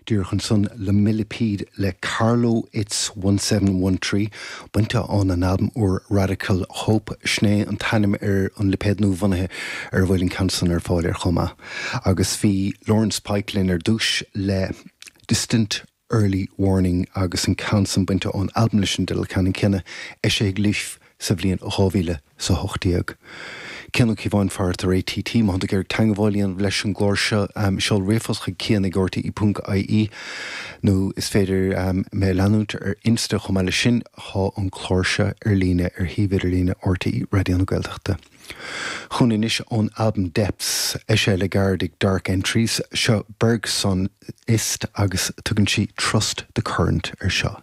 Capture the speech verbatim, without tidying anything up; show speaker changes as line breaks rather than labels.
Díreach ansan Le Millipede le Carlow It's one seven one three bainte ón an albam úr Radical Hope sin é an t-ainm ar an lipéad nua-bhunaithe ar a bhfuil an ceann san ar fáil ar chomh maith. Agus bhí Lawrence Pike linn ar dtús le Distant Early Warning agus an ceann san bainte ón albam leis an dteideal ceannann céanna eisithe ag Leaf sa bhliain dhá mhíle is a hocht déag. Cian Ó Cíobháin fear tar ATT má tá tú ag iarraidh teagmháil a dhéanamh leis an gclár seo seol ríomhphost chuig cian ag rte ponc ie nó is féidir mé a leanúint ar Insta chomh maith leis sin tá an clár seo ar líne ar shuíomh idirlíne RTÉ Raidió na Gaeltachta. Chugainn anois ón albam Depths eisithe le gairid ag Dark Entries seo Bergson Ist agus tugann sí Trust the Current ar seo.